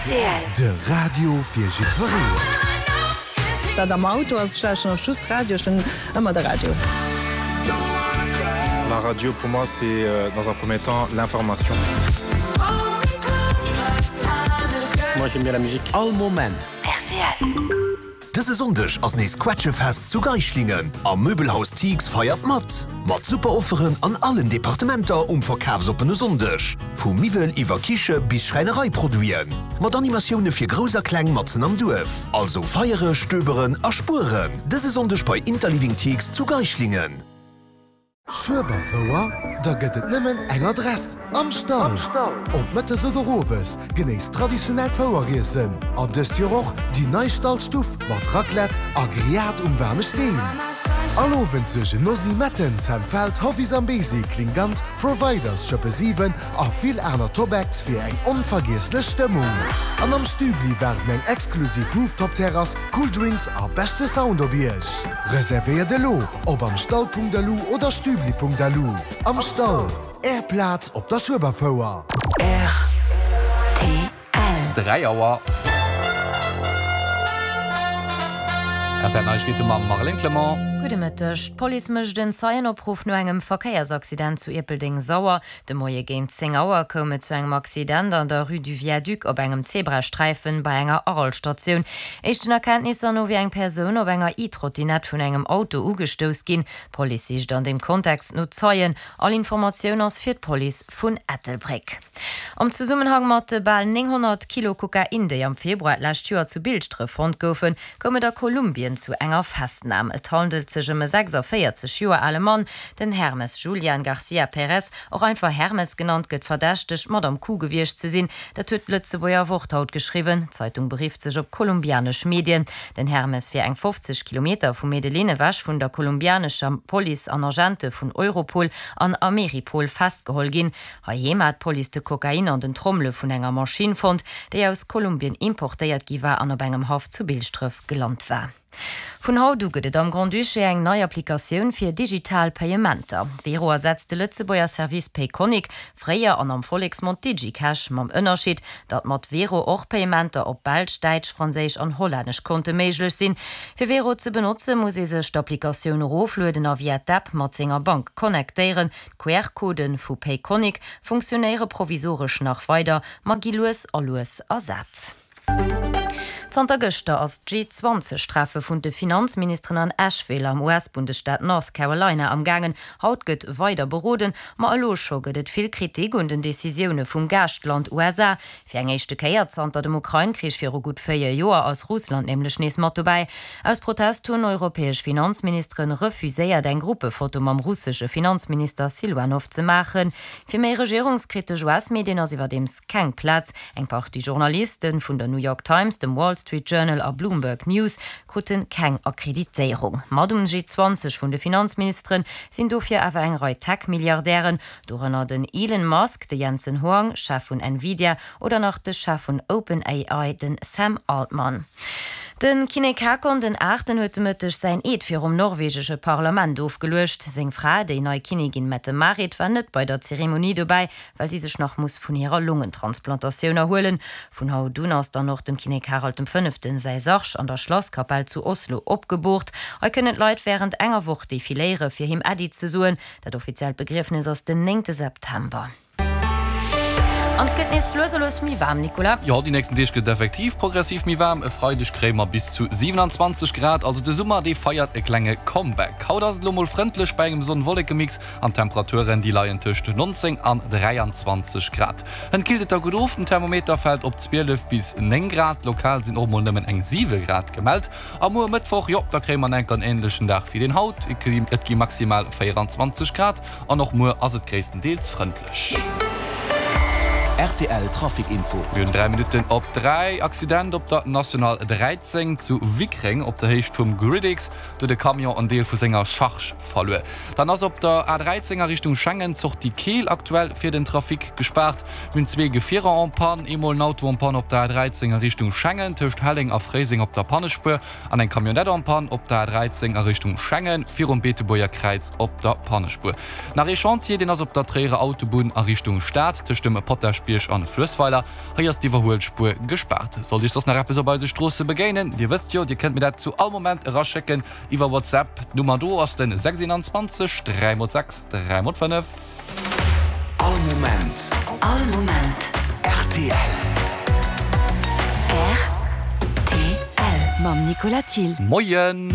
Rtl. De Radio fir jiddwereen. Dat am Auto ass, ech lauschteren och just Radio, ech hunn ëmmer de Radio. La radio pour moi c'est dans un premier temps l'information. Moi j'aime bien la musique. All Moment. Rtl. Dëse Sonndeg ass nees Quetschefest zu Geischlingen a Möbelhaus Thix feiert mat! Mat super Offeren an allen Departementer um verkafsoppene Sonndeg. Vu Miwwel iwwer Kiche bis Schräinereiproduiten. Mat Animatioune fir Grouss a Kleng matzen am Duerf. Also feiere, stöberen a spueren dëse Sonndeg bei Interliving Thix zu Geischlingen. Schueberfouer? Da gëtt et nëmmen eng Adress, Am Stall! Ob mëttes oder owes, genéisst traditionellt Foueriessen an dëst Joer och déi nei Stallstuff mat Raclette a Grillade um waarme Steen. All Owend suergen Nosy Metten, Sam Feldt, Hoffi Zambezi, Klingant, Providers, Schëppe 7 a vill aner Top Acts fir eng onvergiesslech Stëmmung. An am Stübli waarden eng exklusiv Rooftop-Terrass, cool Drinks a beschte Sound op Iech. Reservéiert elo op amstall.lu oder stübli.lu. Am Stall, Är Plaz op der Schueberfouer. Rtl. 3 Auer. Rtl Neiegkeete mam Marlène Clement. Gudde Mëtteg. D'Police mécht en Zeienopruff no engem Verkéiersaccident zu Ierpeldeng-Sauer. De Moie géint 10 Auer koum et zu engem Accident an der Rue du Viaduc op engem Zebrasträifen bei enger Arel-Statioun. Éischten Erkenntnisser no wier eng Persoun op enger E-Trottinett vun engem Auto ugestouss ginn. D'Police sicht an deem Kontext no Zeien. All Informatioun ass fir d'Police vun Ettelbréck. Am Zesummenhang mat de bal 900 Kilo Kokain, déi am Februar d'lescht Joer zu Bilschdref fonnt goufen, koum et a Kolumbien zu enger Festnam. Et handelt sech ëm e 46 Joer ale Mann, Den Hermes Julian Garcia Perez, och einfach Hermes genannt, gëtt verdächtegt, mat am Coup gewiescht ze sinn. Dat huet d'Lëtzebuerger Wort haut geschriwwen. D'Zeitung berifft sech op kolumbianesch Medien. Den Hermes wier eng 50 Kilometer vu Medellin ewech vun der kolumbianescher Police an Agente vun Europol an Ameripol festgeholl ginn. Heiheem hat d'Police de Kokain an den Trommele vun enger Maschinn fonnt, déi aus Kolumbien importéiert gi war an op engem Haff zu Bilschdref gelant war. Vun haut u gëtt et am Grand-Duché eng nei Applikatioun fir digital Payementer. Wero ersetzt de Lëtzebuerger Service Payconiq, fréier an am Volleksmond DigiCash, mam Ënnerscheed, datt mat Wero och Payementer op belsch, däitsch, franséisch an hollännesch Konte méiglech sinn. Fir Wero ze benotze muss ee sech d'Applikatioun eroflueden a via d'App mat senger Bank connectéieren. D'QR-Codë vu Payconiq funktionéiere provisoresch nach weider, ma gi lues a lues ersat. Zanter gëschter ass d'G-20 Treffe vun de Finanzministeren an Asheville am US-Bundesstaat North Carolina am gaangen. Haut gëtt weider beroden, ma elo scho gëtt et vill Kritik un den Decisioune vum Gaaschtland USA. Fir eng éischte Kéier zanter dem Ukrain-Krich viru gutt 4 Joer ass Russland nämlech nees mat dobäi. Aus Protest hunn europäesch Finanzministeren refuséiert eng Gruppefoto mam russesche Finanzminister Siluanov ze maachen. Fir méi regierungskritesch US-Medien ass iwwerdeems keng Plaz. Eng Partie Journaliste vun der New York Times, dem Wall Street Journal a Bloomberg News krute keng Akkreditéierung. Mat um G20 vun de Finanzministere sinn dofir awer eng Rei Tech-Milliardären, dorënner den Elon Musk, de Jensen Huang, Chef vun Nvidia, oder nach de Chef vun OpenAI, den Sam Altman. De Kinnek Haakon den Aachten huet de Mëtteg säin Eed virum norwegesche Parlament ofgeluecht. Seng Fra, déi nei Kinnigin Mette-Marit, war net bei der Zeremonie dobäi, well si sech nach muss vun hirer Longentransplantatioun erhuelen. Vun haut un ass dann och dem Kinnek Harald dem Fënneften säi Sarg an der Schlasskapell zu Oslo opgeboort. Hei kënnen d'Leit wärend enger Woch defiléiere fir him Äddi ze soen. Dat offiziellt Begriefnes ass den néngte September. An et gëtt nees lues a lues méi waarm, Nicolas. Jo, déi nächsten Deeg gëtt et effektiv progressiv méi waarm. E Freideg kréie mer bis zu 27 Grad, also de Summer, dee feiert e klenge Comeback. Haut ass et elo mol frëndlech bei engem Sonn-Wolleke-Mix. An d'Temperaturen, déi leien tëscht 19 an 23 Grad. Hënt killt et da gutt of, den Thermometer fält op 12 bis 9 Grad, lokal sinn och mol nëmmen eng 7 Grad gemellt. A muer Mëttwoch, jo, da kréie mer enker en änlechen Dag wéi deen haut, et gi maximal 24 Grad an och muer ass et gréisstendeels frëndlech. Rtl Trafic Info. Mir hunn 3 Minutten op 3. Accident op der National 13 zu Wickreng op der Héicht vum Gridix. Do huet e Camion en Deel vu senger Charge verluer. Dann ass op der A 13 a Richtung Schengen d'Sortie Keel aktuell fir den Trafic gespaart. Mir hunn zwee Gefierer en panne, eemol en Auto en panne op der A 13 a Richtung Schengen tëscht Helleng a Fréiseng op der Pannespuer an eng Camionnette en panne op der A 13 a Richtung Schengen virum Beetebuerger Kräiz op der Pannespuer. Nach ee Chantier, deen ass op der Tréierer Autobunn a Richtung Stad tëscht dem Potaschbierg. Kierchbierg an Fluessweiler. Hei ass d'Iwwerhuelspuer gespaart. Sollt Iech soss nach eppes op eise Stroosse begéinen, Dir wësst jo, Dir kënnt mir dat zu all Moment eraschécken iwwer WhatsApp. D'Nummer do ass den 26 3 x 6 3 x 5. All Moment. All Moment. Rtl. Rtl. Mam Nicolas Thill. Moien!